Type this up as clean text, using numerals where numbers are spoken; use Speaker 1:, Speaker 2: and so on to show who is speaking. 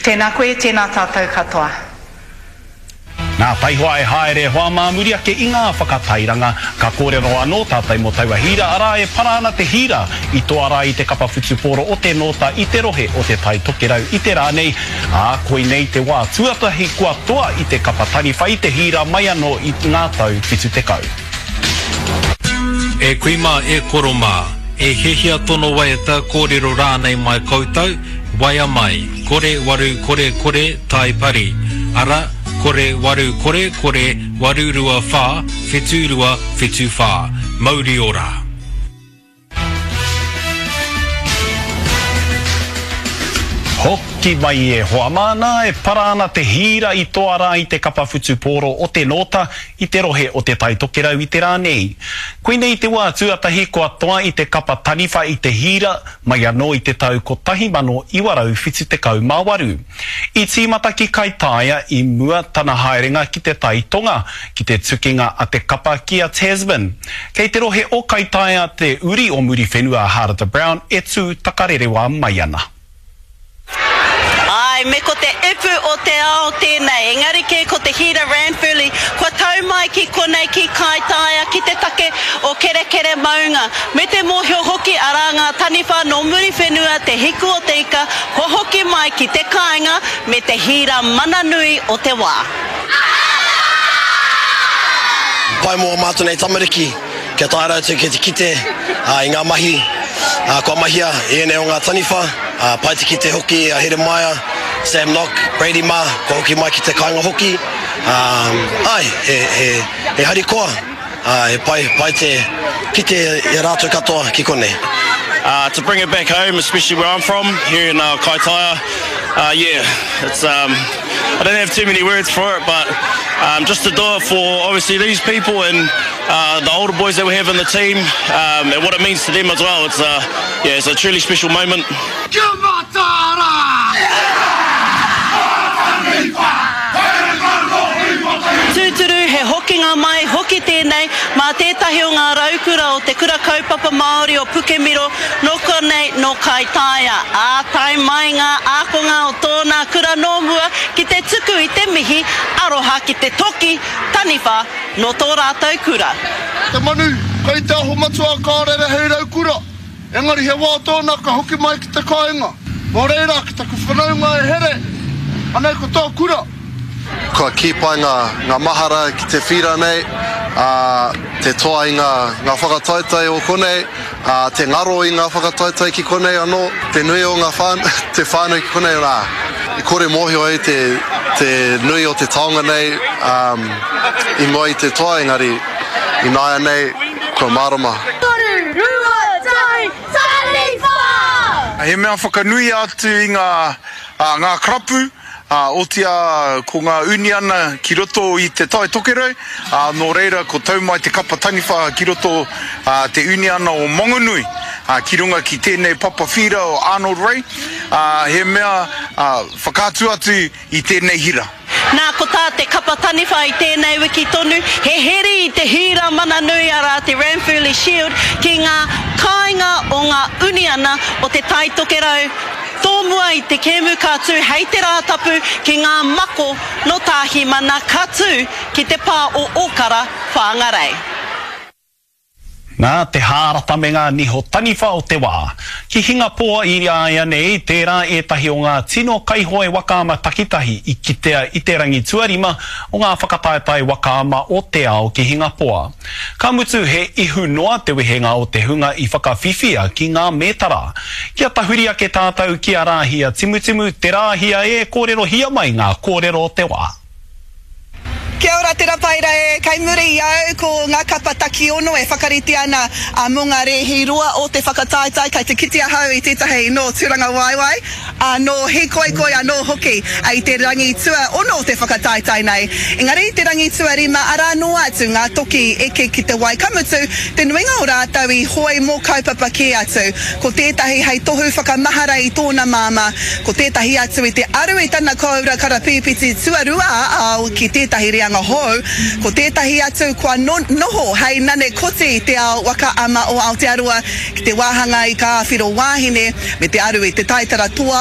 Speaker 1: Tēnā koe, tēnā tātou katoa.
Speaker 2: Nā, taihoa e haere hoa mā muri ake i ngā whakatairanga, ka kōrero anō tātou mō taua hīra, arā e para ana te hīra i toa rā i te kapa whutupōro o te Nōta i te rohe o Te Tai Tokerau i te rā nei, ā, koinei te wā tuatahi kua toa i te kapa taniwha i te hīra mai anō i ngā tau 70.
Speaker 3: E kui mā, e koro mā, e hiahia tono waiata, kōrero rānei mai koutou, Waea mai, kore waru kore kore tai pari, ara, kore waru kore kore waru rua wha whitu rua whitu wha. Mauri ora!
Speaker 2: Hoki mai e hoa mā, nā e para ana te hīra i toa rā i te kapa whutupōro o te Nōta i te rohe o Te Tai Tokerau i te rā nei. Koinei te wā tuatahi kua toa i te kapa taniwha i te hīra, mai anō i te tau 1978. I tīmata ki Kaitaia i mua tana haerenga ki te tai tonga, ki te tukinga a te kapa ki a Tasman. Kei te rohe o Kaitaia te uri o Muriwhenua a Harata Brown e tū takarerewa mai ana.
Speaker 4: Āe, me ko te ipu o te ao tēnei, engari kē ko te Hira Ranfurly kua tau mai ki konei ki Kaitaia ki te take o Kerekere maunga. Me te mōhio hoki arā ngā taniwha nō Muriwhenua te hiku o te ika kua hoki mai ki te kāinga me te hīra mana nui o te wā.
Speaker 5: Pai mō ā mātou nei tamariki kia taea rātou ki te kite i ngā mahi kua mahia i ēnei o ngā taniwha. Pai te kite hoki a Heremaia, Sam Nock, Brady mā, kua hoki mai ki te kāinga hoki. Āe, he harikoa, he pai, pai te kite i a rātou katoa ki konei.
Speaker 6: To bring it back home, especially where I'm from, here in Kaitaia, yeah, it's, I don't have too many words for it, but just to do it for obviously these people and the older boys that we have in the team um, and what it means to them as well. It's a, yeah, it's a truly special moment.
Speaker 7: Kia mataara!
Speaker 4: Tūturu, he hokinga mai hoki tēnei mā tētahi o ngā raukura o Te Kura Kaupapa Māori o Pukemiro, nō konei, nō Kaitaia. Ā, tae mai ngā ākonga o tōna kura nō mua ki te tuku i te mihi aroha ki te toki taniwha Nō tō rātou kura.
Speaker 7: Te manu, kei te aho matua ka rere hei raukura, engari he wā tōna ka hoki mai ki te kāinga. Nō reira, ki taku whanaunga e Here, anei ko tō kura.
Speaker 8: Kua kī pai ngā, ngā mahara ki te whīra nei, ā, te toa i ngā, ngā whakataetae o konei, ā, te ngaro i ngā whakataetae ki konei anō, te nui o ngā whānau, te whānau ki konei, ā, i kore mōhio ai te, te nui o te taonga nei, ā, i mua i te toa, engari, ināianei, kua mārama.
Speaker 9: Toru, rua, tahi, taniwha!
Speaker 7: He mea whakanui atu i ngā, ngā karapu, Ā, otīa ko ngā uniana ki roto i Te Tai Tokerau, ā, nō reira ko tau mai te kapa taniwha ki roto ā, te uniana o Mangonui, ā, ki runga ki tēnei papa whīra o Arnold Ray, ā, he mea, ā, whakaatu atu i tēnei hira.
Speaker 4: Nā, ko tā te kapa taniwha i tēnei wiki tonu, he heri i te hīra mana nui arā te Ranfurly Shield ki ngā kāinga o ngā uniana o Te Tai Tokerau, Tōmua i te kēmu ka tū hei te Rātapu ki ngā mako nō Tāhimana ka tū ki te pā o Ōkara, Whāngarei.
Speaker 2: Nā te hārata me ngā niho taniwha o te wā. Ki Hingapoa i āianei, tērā ētahi o ngā tino kaihoe waka ama takitahi i kitea i te rangi tuarima o ngā whakataetae waka ama o te ao ki Hingapoa. Ka mutu he ihu noa te wehenga o te hunga i whakawhiwhia ki ngā mētara. Kia tahuri ake tātou ki a Rāhia Timutimu, te Rāhia e, kōrerohia mai ngā kōrero o te wā.
Speaker 10: Kia ora Te Rapaira e, kei muri i au ko ngā kapa takiono e whakarite ana mō ngā rēhi roa o te whakataetae, kei te kite ahau i tētahi nō Turangawaewae, ā, nō Hīkoikoi anō hoki i te rangi tuaono o te whakataetae nei. Engari i te rangi tuarima arā noa atu ngā toki i eke ki te wai, ka mutu, te nuinga o rātou i hoe mō kaupapa kē atu. Ko tētahi hei tohu whakamahara i tōna māmā, ko tētahi atu i te aru i tana kōura karapīpiti tuarua ā-ao ki tētahi reanga hou, ko tētahi atu kua noho hei nane koti i te ao waka ama o Aotearoa ki te wāhanga i Ka Āwhiro Wāhine me te aru i te taitara toa.